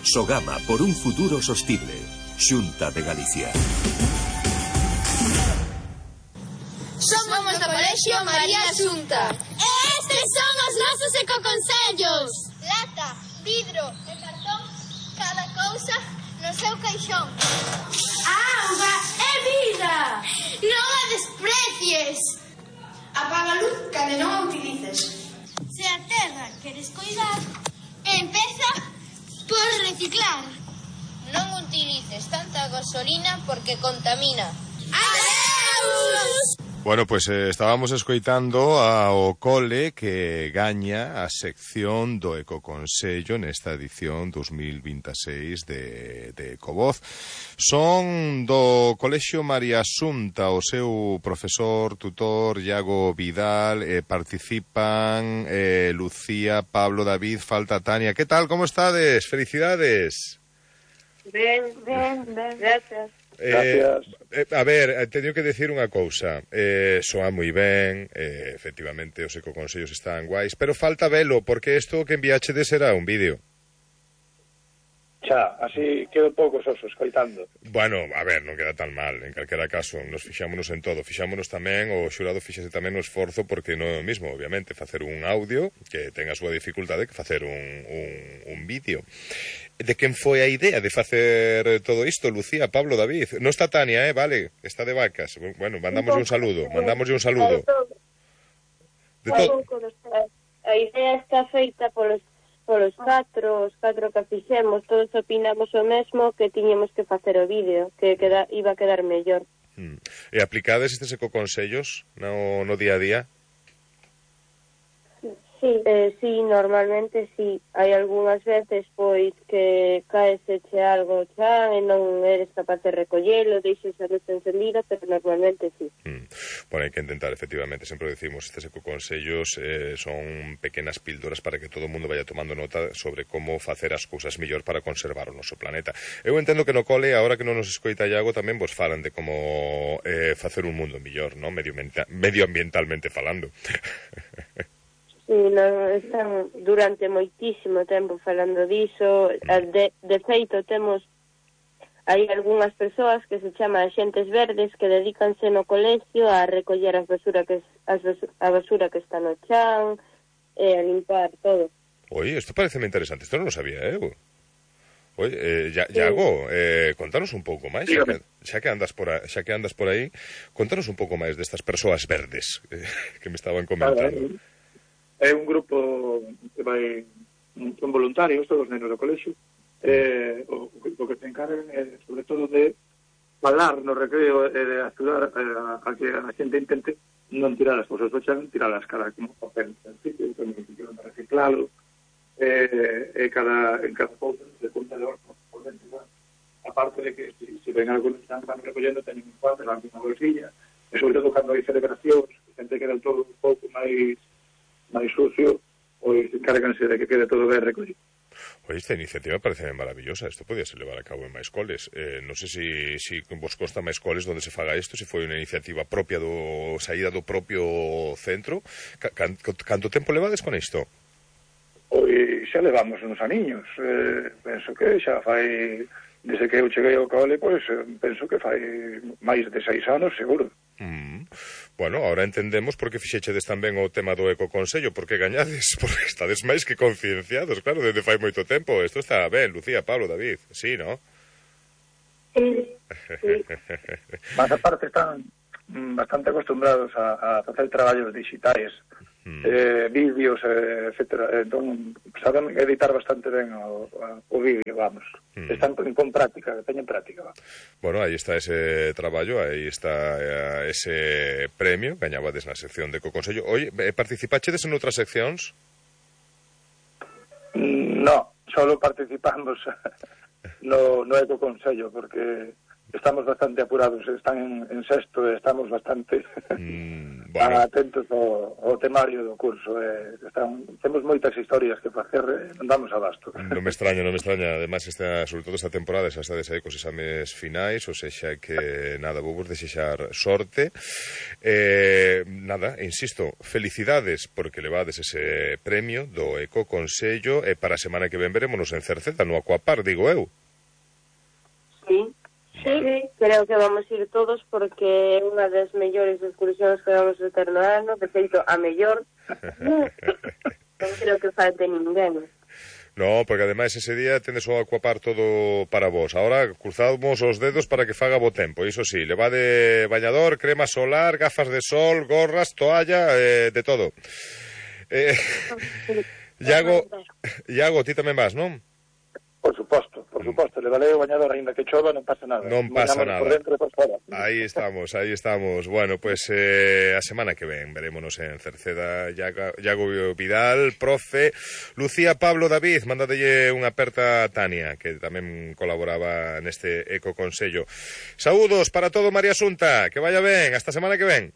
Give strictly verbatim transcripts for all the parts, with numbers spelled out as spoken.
Sogama por un futuro sostible. Xunta de Galicia. Somos do Colexio María Xunta. E estes son os nosos ecoconsellos. Lata, vidro e cartón, cada cousa no seu caixón. Auga é vida. Non a desprecies. Apaga a luz cando non a utilices. Se a terra queres coidar, empeza por reciclar. Non utilices tanta gasolina porque contamina. Adeus! Bueno, pues eh, estábamos escoitando ao cole que gaña a sección do Ecoconsello nesta edición dos mil veintiséis de, de Ecovoz. Son do Colexio María Xunta, o seu profesor, tutor, Iago Vidal, eh, participan eh, Lucía, Pablo, David, falta Tania. Que tal, como estades? Felicidades. Ben, ben, ben, gracias. Eh, eh, a ver, teño que decir unha cousa. eh, Soa moi ben, eh, efectivamente os ecoconsellos están guais, pero falta velo, porque isto que enviachedes era un vídeo. Xa, así quedo pouco soso escoitando. Bueno, a ver, non queda tan mal. En calquera caso, nos fixámonos en todo. Fixámonos tamén, o xurado fixase tamén o esforzo, porque non é o mismo, obviamente, facer un audio que ten a súa dificultade que facer un, un, un vídeo. De quen foi a idea de facer todo isto, Lucía, Pablo, David? Non está Tania, eh, vale, está de vacas. Bueno, mandamoslle un saludo, mandamoslle un saludo. De todo. A idea está feita polos polos catro, os catro que fixemos, todos opinamos o mesmo, que tiñemos que facer o vídeo, que queda, iba a quedar mellor. Hmm. E aplicades estes ecoconsellos no, no día a día? Sí, eh, sí, normalmente sí. Hai algunhas veces, pois, que caeseche algo chan e non eres capaz de recollelo, deixes a luz encendida, pero normalmente sí. Mm. Bueno, hai que intentar, efectivamente, sempre decimos, estes ecoconsellos eh, son pequenas píldoras para que todo o mundo vaya tomando nota sobre como facer as cousas mellor para conservar o noso planeta. Eu entendo que no cole, agora que non nos escoita Iago, tamén vos falan de como eh, facer un mundo mellor, ¿no? Medioambientalmente falando. Sí, non, están durante moitísimo tempo falando diso. De, de feito, temos hai algunhas persoas que se chama axentes verdes que dedícanse no colegio a recoller as basura que, as basura, a basura que está no chan e a limpar todo. Oi, isto parece interesante, isto non lo sabía, eh? Oi, eh, Iago, eh, contanos un pouco máis, xa que, xa que andas por aí, xa que andas por aí, contanos un pouco máis destas persoas verdes eh, que me estaban comentando. É un grupo que vai, son voluntarios, todos os nenos do colexio, eh, o, o que se encargan é, sobre todo, de falar no recreo e de axudar a, a que a xente intente non tirar as cousas do chan, tirar as caras como papel en sitio, tamén que quedan para reciclalo, e eh, cada, en cada cousa se conta de orto por dentro, aparte de que se si, si ven algo que están recollendo, teñen un cuadro, van unha bolsilla, e sobre todo cando hai celebracións, a xente queda todo un pouco máis máis sucio, pois encárganse de que quede todo ben recollido. Oye, esta iniciativa parece maravillosa. Isto podía ser levar a cabo en máis coles. Eh, non sei se si, si vos consta máis coles onde se faga isto, se foi unha iniciativa propia do saída do propio centro. Can, canto tempo levades con isto? Pois xa levamos uns aniños. Eh, penso que xa fai, desde que eu cheguei ao cole, pois penso que fai máis de seis anos, seguro. Mm. Bueno, ahora entendemos por que fixechedes tamén o tema do ecoconsello, porque gañades, porque estades máis que concienciados, claro, desde fai moito tempo. Isto está ben, Lucía, Pablo, David, sí, ¿no? Sí, sí. Mas aparte están bastante acostumbrados a, a facer traballos digitais, mm. eh, vídeos, eh, etcétera. Entón, saben editar bastante ben o, o vídeo, vamos. Mm. Están con práctica, teñen práctica. Vamos. Bueno, aí está ese traballo, aí está eh, ese premio, gañabades na sección de Ecoconsello. Oye, participachedes en outras seccións? No, solo participamos no, no Ecoconsello, porque estamos bastante apurados, están en, en sexto e estamos bastante mm, bueno. atentos ao, ao temario do curso. Eh, están, temos moitas historias que facer, eh, non damos abasto. Non me extraña, non me extraña. Ademais, esta, sobre todo esta temporada, xa estades aí cos exames finais, ou sexa que, nada, vou vos desexar sorte. Eh, nada, insisto, felicidades porque levades ese premio do Ecoconsello e para a semana que ven verémonos en Cerceda, no Aquapar, digo eu. Sí, sí, creo que vamos a ir todos porque é unha das mellores excursións que vamos a ter no ano, de feito, a mellor. Non creo que falte ninguén. No, porque ademais ese día tendes o Aquapar todo para vos. Ahora cruzamos os dedos para que faga bo tempo. Iso sí, levade bañador, crema solar, gafas de sol, gorras, toalla, eh, de todo. Eh, Iago, Iago, ti tamén vas, non? Por suposto, por suposto, levarei o bañador aínda que chova, non pasa nada. Non pasa nada. Por dentro e por fora. Aí estamos, aí estamos. Bueno, pues eh, a semana que ven verémonos en Cerceda. Iago, Iago Vidal, profe, Lucía, Pablo, David, mándadelle unha aperta a Tania, que tamén colaboraba neste Ecoconsello. Saúdos para todo, María Asunta, que vaya ben, hasta a semana que ven.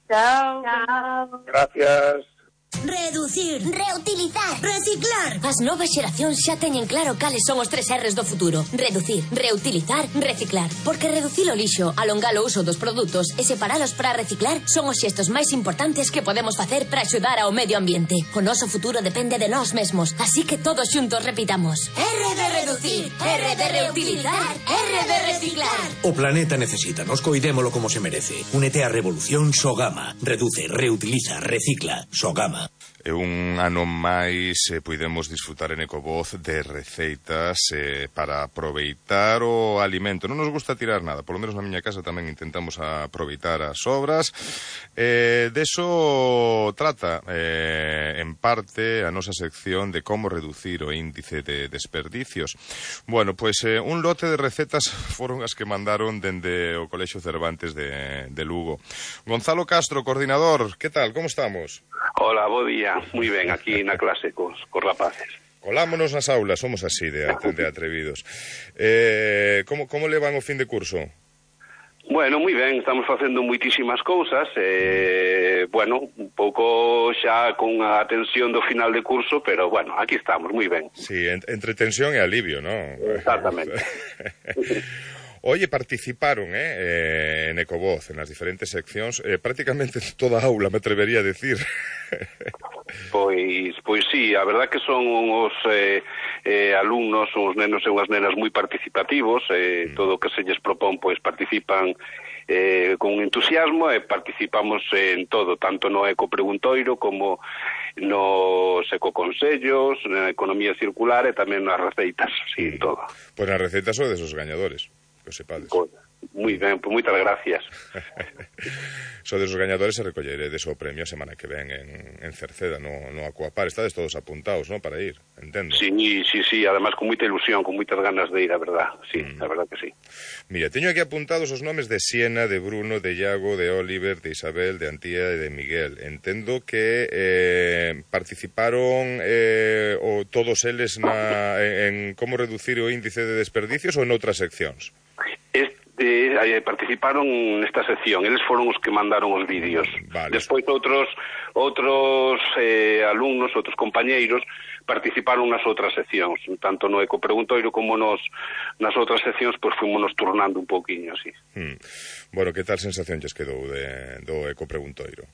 Chao. Chao. Gracias. Reducir, reutilizar, reciclar. As novas xeracións xa teñen claro cales son os tres R's do futuro. Reducir, reutilizar, reciclar. Porque reducir o lixo, alongar o uso dos produtos e separalos para reciclar son os xestos máis importantes que podemos facer para axudar ao medio ambiente. O noso futuro depende de nós mesmos, así que todos xuntos repitamos: R de reducir, R de reutilizar, R de reciclar. O planeta necesita, nos coidémolo como se merece. Únete á revolución Sogama. Reduce, reutiliza, recicla. Sogama. E un ano máis eh, puidemos disfrutar en Ecovoz de receitas eh, para aproveitar o alimento. Non nos gusta tirar nada, polo menos na miña casa tamén intentamos aproveitar as sobras. Eh, deso trata eh, en parte a nosa sección de como reducir o índice de desperdicios. Bueno, pois pues, eh, un lote de recetas foron as que mandaron dende o Colexio Cervantes de, de Lugo. Gonzalo Castro, coordinador, que tal, como estamos? Hola, bo día. Moi ben, aquí na clase cos, cos rapaces. Colámonos nas aulas, somos así de, de atrevidos. Eh, como, como levan o fin de curso? Bueno, moi ben, estamos facendo moitísimas cousas, eh, bueno, un pouco xa con a tensión do final de curso, pero bueno, aquí estamos, moi ben. Sí, en, entre tensión e alivio, ¿no? Exactamente. Oye, participaron eh, eh, en Ecovoz, en las diferentes seccións, eh, prácticamente toda a aula, me atrevería a decir. Pois, pois sí, a verdad que son os eh, eh, alumnos, os nenos e unhas nenas moi participativos, eh, mm. todo o que se lles propón, pois participan eh, con entusiasmo e participamos en todo, tanto no Ecopreguntoiro como nos ecoconsellos, na economía circular e tamén nas receitas, sí, mm. todo. Pois nas receitas son desos gañadores. Que o sepades. Moi ben, pois moitas gracias. Sodes os gañadores e recolleredes o premio a semana que ven en, en Cerceda, no, no Aquapar. Estades todos apuntados, ¿no?, para ir, entendo. Sí, sí, sí, además con moita ilusión, con moitas ganas de ir, a verdad. Sí, mm. a verdad que sí. Mira, teño aquí apuntados os nomes de Siena, de Bruno, de Iago, de Oliver, de Isabel, de Antía e de Miguel. Entendo que eh, participaron eh, o todos eles na, en, en como reducir o índice de desperdicios ou en outras seccións? Este, eh, participaron nesta sección, eles foron os que mandaron os vídeos. Vale. Despois outros outros eh, alumnos, outros compañeiros participaron nas outras seccións, tanto no Ecopreguntoiro como nos nas outras seccións, pois fuimos nos turnando un pouquiño, así. Hmm. Bueno, que tal sensación lles quedou de, do Ecopreguntoiro?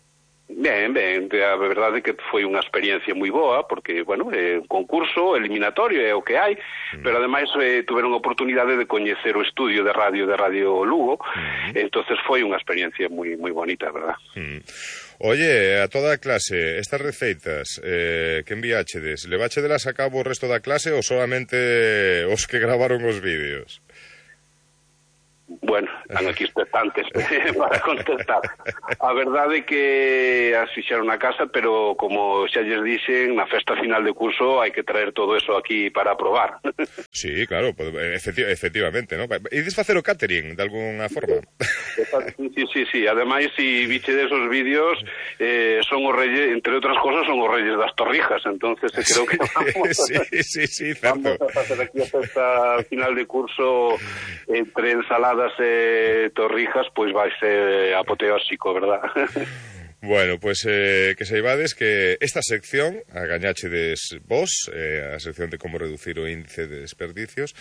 Ben, ben, a verdade é que foi unha experiencia moi boa, porque, bueno, é un concurso eliminatorio, é o que hai, mm. pero ademais eh, tuveron a oportunidade de coñecer o estudio de radio de Radio Lugo, mm. entonces foi unha experiencia moi moi bonita, verdad? Mm. Oye, a toda a clase, estas receitas eh, que enviáchedes, leváchedelas a cabo o resto da clase ou solamente os que gravaron os vídeos? Bueno, están aquí expectantes para contestar. A verdade é que as fixeron na casa, pero como xa lles dixen, na festa final de curso hai que traer todo eso aquí para aprobar. Sí, claro, efecti efectivamente, ¿no? Ides facer o catering de alguna forma? Sí, sí, sí, sí. Ademais, si biche desos vídeos, eh, son os reyes, entre outras cosas, son os reyes das Torrijas, entonces creo que vamos, sí, sí, sí, certo. Vamos a facer aquí a festa final de curso entre ensaladas e torrijas, pois vai ser apoteósico, verdad? Bueno, pois pues, eh, que saibades que esta sección, a gañáchedes vos, eh, a sección de como reducir o índice de desperdicios,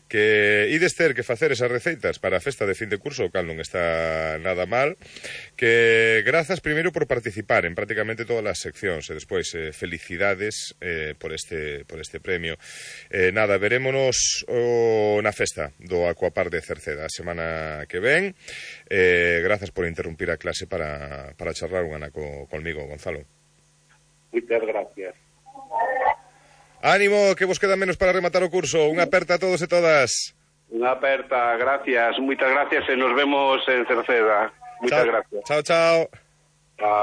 que ides ter que facer esas receitas para a festa de fin de curso, o cal non está nada mal, que grazas primeiro por participar en prácticamente todas as seccións, e despois eh, felicidades eh, por este por este premio. Eh, nada, verémonos o, na festa do Aquapar de Cerceda a semana que ven. Eh, grazas por interrumpir a clase para, para charlar unha ana co, conmigo, Gonzalo. Muchas gracias. Ánimo, que vos queda menos para rematar o curso. Unha aperta a todos e todas. Unha aperta, gracias, moitas gracias e nos vemos en Cerceda. Muchas chao, gracias. Chao, chao. Chao.